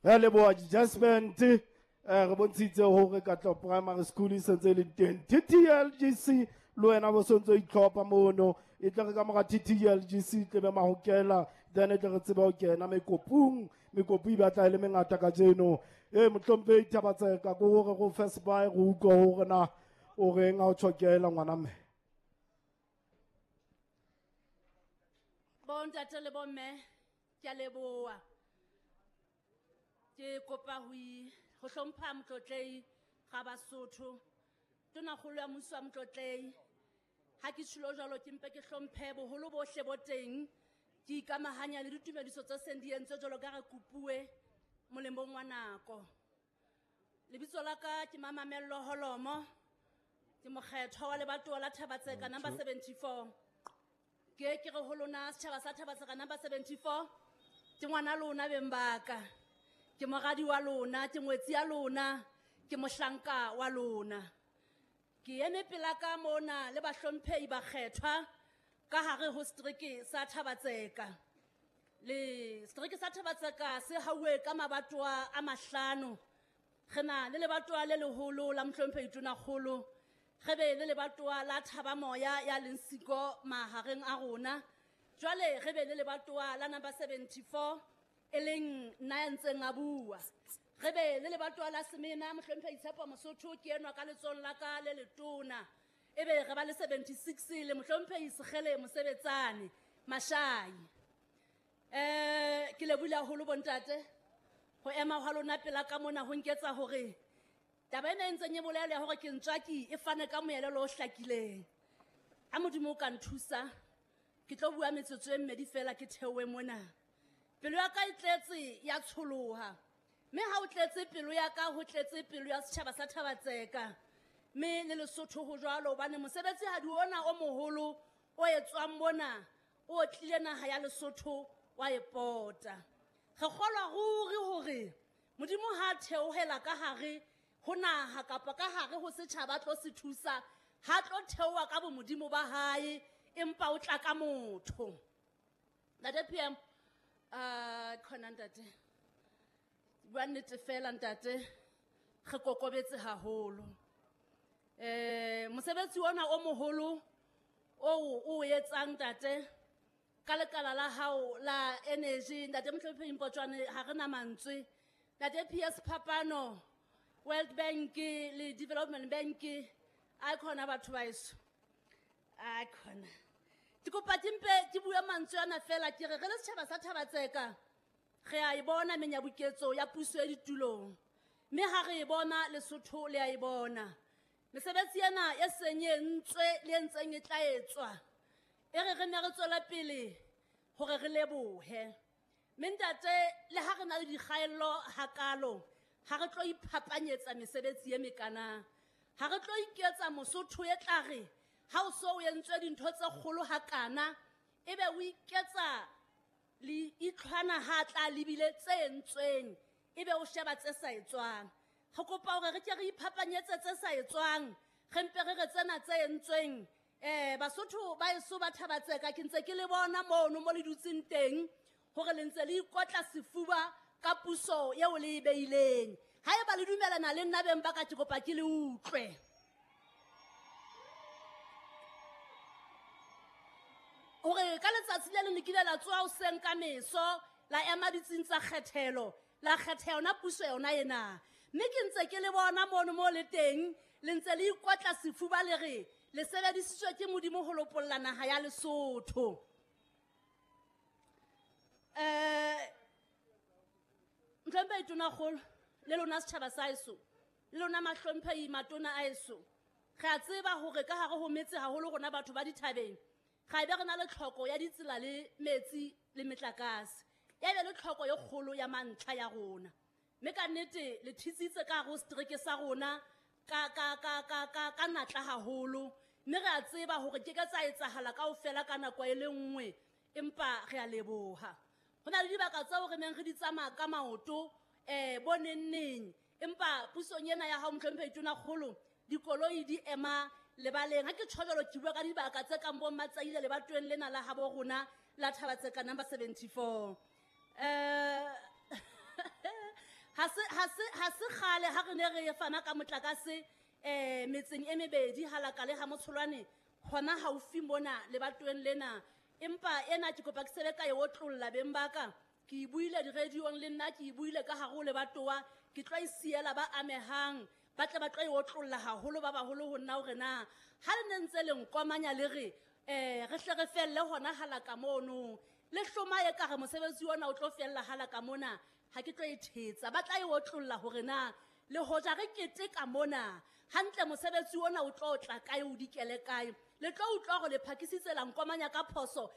Re leboha di-adjustment re bontshitse hore Katleho Primary School e sentse e le teng. TTLGC le wena bo sontso itlhopha mono, e tle re ka mora TTLGC tle be mahokela, then e tle re tsebe ho kena mekopung. Mekopu e batla e le mengata kajeno. Mohlomphehi Thabatseka, ke hore go first buy re utlwe hore na o reng ha o tjhokela ngwana mme. Bontate le bomme, ke a leboha. Ke kopa ho hlompha Motlotlehi ga Basotho, Tonakgolo ya mmuso wa Motlotlehi. Ha ke tjholo jwalo ke mpe ke hlomphe boholo bohle bo teng, ke ikamahanya le ditumediso tse seng di entswe jwalo ka re kopuwe molemong wa nako. Lebitso la ka ke Mamamello Holomo, ke mokgethwa wa lebatowa la Thabatseka number 74. Ke ke re ho lona setjhaba sa Thabatseka number 74, ke ngwana lona beng ba ka, ke moradi wa lona, ke ngwetsi ya lona, ke mohlanka wa lona. Ke eme pela ka mona le bahlomphehi bakgethwa ka hare ho setereke sa Thabatseka. Le setereke sa Thabatseka se hauwe ka mabatowa a mahlano. Re na le lebatowa le leholo la mohlomphehi Tonakgolo, re be le lebatowa la Thabamoya ya leng siko mahareng a rona. Jwale re be le lebatowa la number 74 e leng nna ya ntseng a bua. Re be le lebatowa la Semena, mohlomphehi Tshepo Mosotho ke enwa ka letsohong la ka le letona. Ebe re ba le 76 le mohlomphehi Sekgele Mosebetsane Mashai. Ke lebohile haholo bontate ho ema hwa lona pela ka mona ho nketsa hore taba ena e ntseng e bolela ya hore ke ntswaki e fane ka moelelo o hlakileng. Ha Modimo o ka nthusa, ke tlo bua metsotso e mmedi fela ke theohe mona. Pelo ya ka e tletse ya tsholoha. Mme ha o tletse pelo ya ka, ho tletse pelo ya setjhaba sa Thabatseka. Mme le Lesotho ho jwalo, hobane mosebetsi ha di ona o moholo o etswang mona, o tlile naha ya Lesotho wa e pota. Re kgolwa ruri hore Modimo ha theohela ka hare ho naha kapa ka hare ho setjhaba tlo se thusa, ha tlo theoha ka bomodimo ba hae, empa o tla ka motho. Ntate PM, khona ntate. Bua nnete fela ntate, re kokobetse haholo. Mosebetsi ona o moholo o etsang ntate ka lekala la hao la energy, ntate Mohlomphehi Mpotjoane, ha re na mantswe. Ntate PS Phapano, World Bank le Development Bank, a khona batho ba heso. A khona. Ke kopa ke mpe ke bue mantswe ana fela, ke re re le setjhaba sa Thabatseka, re a e bona menyabuketso ya puso e ditulong. Mme ha re e bona Lesotho le a e bona. Mesebetsi ena e seng e entswe le e ntseng e tla etswa, e re re ne re tswela pele hore re lebohe. Mme ntate, le ha re na le dikgaello hakalo, ha re tlo iphapanyetsa mesebetsi e mekana. Ha re tlo iketsa Mosotho e tla re ha o so o entswe dintho tse kgolo hakana, ebe o iketsa le itlhwana ha tla lebile tse entsweng, ebe o sheba tse sa etswang. Re kopa hore re ke re iphapanyetse tse sa etswang, re mpe re re tsena tse entsweng. Basotho ba heso ba Thabatseka, ke ntse ke le bona mono mo le dutseng teng, hore le ntse le ikotla sefuba ka puso eo le e beileng. Haeba le dumelana le nna beng ba ka, ke kopa ke le utlwe. Hore ka letsatsi le leng le kile la tsoha hoseng ka meso, la ema ditsing tsa kgethelo, la kgetha yona puso yona ena. Mme ke ntse ke le bona mono mo le teng, le ntse le ikotla sefuba le re le sebedisitswe ke Modimo ho lopolla naha ya Lesotho. Mohlomphehi Tonakgolo, le lona setjhaba sa heso, le lona mahlomphehi matona a heso, re a tseba hore ka hare ho metse haholo rona batho ba dithabeng, ga ebe re na le tlhoko ya ditsela le metsi le metlakase, ya be le tlhoko e kgolo ya mantlha ya rona. Mme ka nnete le thitsitse ka hare ho setereke sa rona ka natla haholo, mme re a tseba hore ke ka tsa etsahala kaofela ka nako e le nngwe, empa re a leboha. Ho na le dibaka tseo re neng re di tsamaya ka maoto, bo neng neng, empa pusong ena ya hao Mohlomphehi Tonakgolo, dikoloi di ema lebaleng. Ha ke tjho jwalo, ke bua ka dibaka tse kang bo Matsaile lebatoweng lena la habo rona la Thabatseka number 74. Ha se kgale ha re ne re fana ka motlakase metseng e mebedi halaka le ha motsholwane hona haufi mona lebatoweng lena. Empa ena ke kopa ke sebe ka e otlolla beng ba ka. Ke e buile di-radio-ong le nna, ke e buile ka hare ho lebatowa, ke tlo e siela ba amehang, ba tle ba tlo e otlolla haholo ba baholo ho nna hore na ha le ne ntse le nkomanya le re re hle re felle hona halaka mono, le hloma e kare mosebetsi ona o tlo fella halaka mona, ha ke tlo e thetsa. Ba tla e otlolla hore na le hoja re keteka mona hantle mosebetsi ona o tlo tla kae, o dikele kae. Le tlo utlwa hore le phakisitse la nkomanya ka phoso.